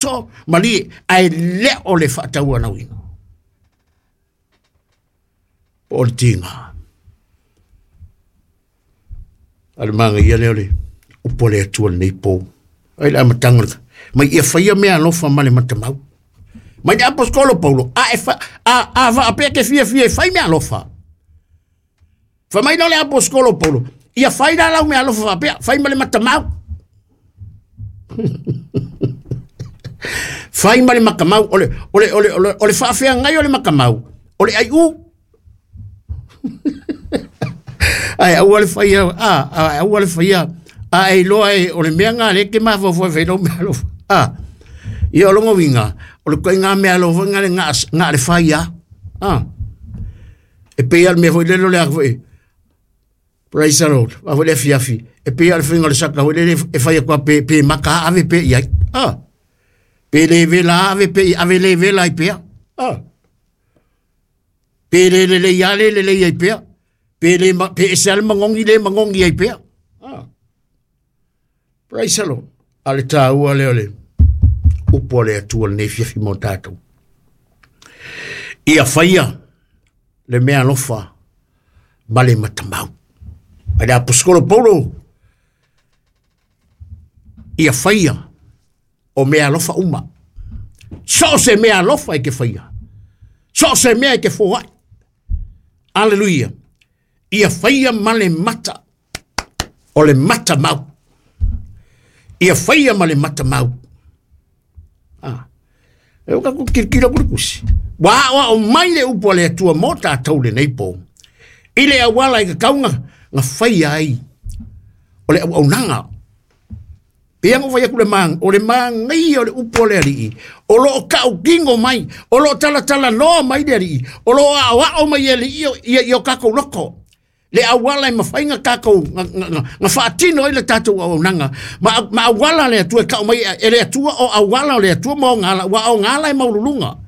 So, malie, ae le o le faatauanauina. Po o le tiga. A le magaia lea o le upu a le Atua lenei po. Ai le amataga o le mai ia faia mea alofa ma le matamau. Mai le aposkolo Paulo, a e fa, a, a vaapea ke fiafia e fai mea alofa. Fai mai la le aposkolo Paulo, ia fai la lau mea alofa faapea, fai ma le matamau. Fai ma le matamau, o le, o le, o le, o le, o le faafeagai o le matamau, o le aiu. Ai aua le faia, a, a, aua le faia, a e iloa e, o le mea ngā le ke mafaufau e fai lau mea alofa. A, ia o longa uiga, o le koiga mea alofa ngā le ngā, ngā le fai a. A, e pei a le mea foi lele o le a foi, praise the Lord, a foi le afiafi, e pei a le faiga o le saka foi lele e fai atu a pe, pe maka ave pe i ai. A, pe le vela ave pe i ave le vela ai pea. A, pe le lelei a le lelei ai pea. Pe le ma, pe ese a le magogi le magogi ai pea. A, praise the Lord. A le tāua lea o le upu a le Atua lenei fiafi mo tātou. Ia whaia le mea alofa ma le matamau. Mai le aposkolo Paulo, ia whaia o mea alofa uma. So o se mea alofa e ke whaia. So o se mea e ke foai. Aleluia. Ia whaia ma le mata o le matamau. Ia whaia ma le matamau. Ah. E o kaku kirikira kuri kusi. Wa o o mai le upu a le Atua mō tātou lenei pō. I le auala i ka kaunga, nga whaia ai. O le auaunaga. Pei ona fai atu le mang, o le māngaia o le upu a le alii, o lo o tautino mai, o lo o talatalanoa mai le alii, o lo o aoao mai e alii ia, ia o tatou loko. Le auala e mafai na tatou, na faatino ai le tatou auaunaga. Ma, ma auala le Atua e tau mai e le Atua o auala o le Atua ma ona ala, ua ona ala e maualuluga.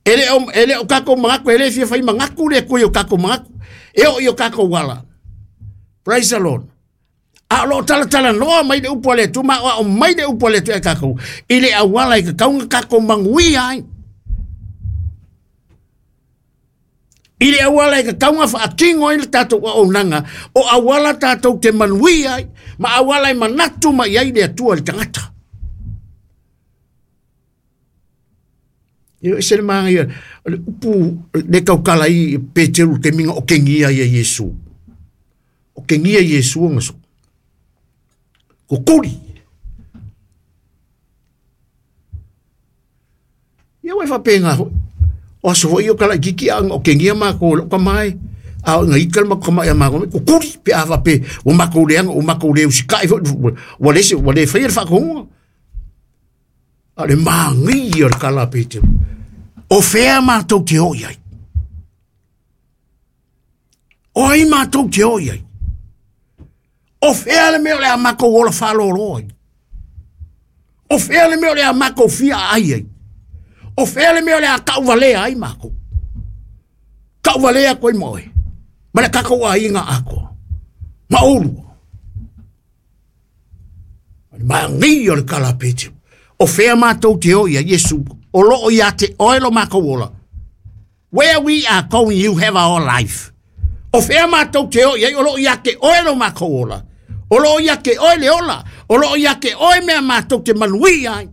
E le o, e le o tatou manatu, e le fia fai manatu le Atua i o tatou manatu. E oo i o tatou ala. Praise the Lord. A o lo o talatalanoa mai le upu a le Atua ma aoao mai le upu a le Atua ia tatou i le auala e tatau ona tatou manuia ai. I le auala e tatau ona faatino ai le tatou auaunaga, o auala tatou te manuia ai, ma auala e manatu mai ai le Atua i le tagata. Ia ese le manaia o le upu le tautala ai Peteru i le taimi na otegia ai e Iesu. Otegia Iesu ona so. Kukuli. Ia ua e faapena foi. O aso foi ia o kalaititi a na otegia matou e lou tama e, a oo ina ita le matou tama ia matou, kukuli pe a faapea ua matou leaga ua matou le usitai foi, ua le ua le faia le faatonuga. A o le manaia o le tala a Peteru, o fea matou te o i ai? O ai matou te o i ai? O fea le mea o le a matou ola faalolo ai? O fea le mea o le a matou fia aai ai? O fea le mea o le a tauvalea ai matou? Tauvalea atu ai ma oe, ma le tatou aiga atoa, ma oulua. O le manaia o le tala a Peteru. O fea matou te o i ai, Iesu, o loo ia te oe lo matou ola. Where we are going, you have our life. O fea matou te o i ai, o loo ia te oe lo matou ola. O loo ia te oe le ola. O loo ia te oe mea matou te manuia ai.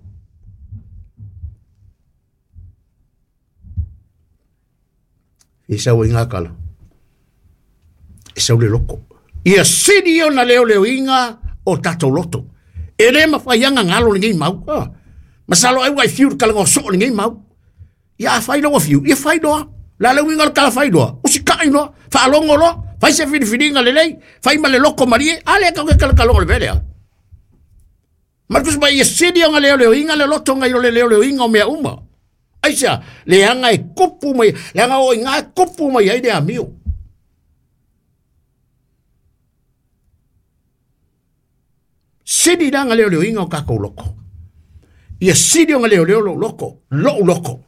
E sau ai ngā kala. E sau le loko. Ia sili ona leoleoina o tatou loto. E le mawhai anga ngalo lenei mau. Ah. Masalo ai wai fiu le kalaga o soo lenei mau. Ia a fai loa fiu, ia fai loa. La le uiga o le kala fai loa. Usikai loa, faalogo loa, fai se filifiliga lelei, fai ma le loko malie, a le kau ke kalakalogo le mea lea. Ma le Tusi Paia, ia sili ona leoleoina le loto nai lo le leoleoina o mea uma. Aisea, leaga e kupu mai, leaga o i ina e kupu mai ai le amio. Sili la ona leoleoina o tatou loto. Ia sili ona leoleo lou loto, lou loto,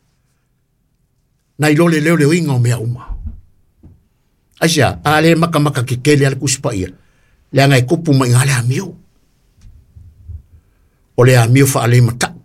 nai lo le leoleoina o mea uma. Aisea, a le makamaka kekele a le Tusi Paia, leaga e kupu mai i ina le amio. O le amio faalematau.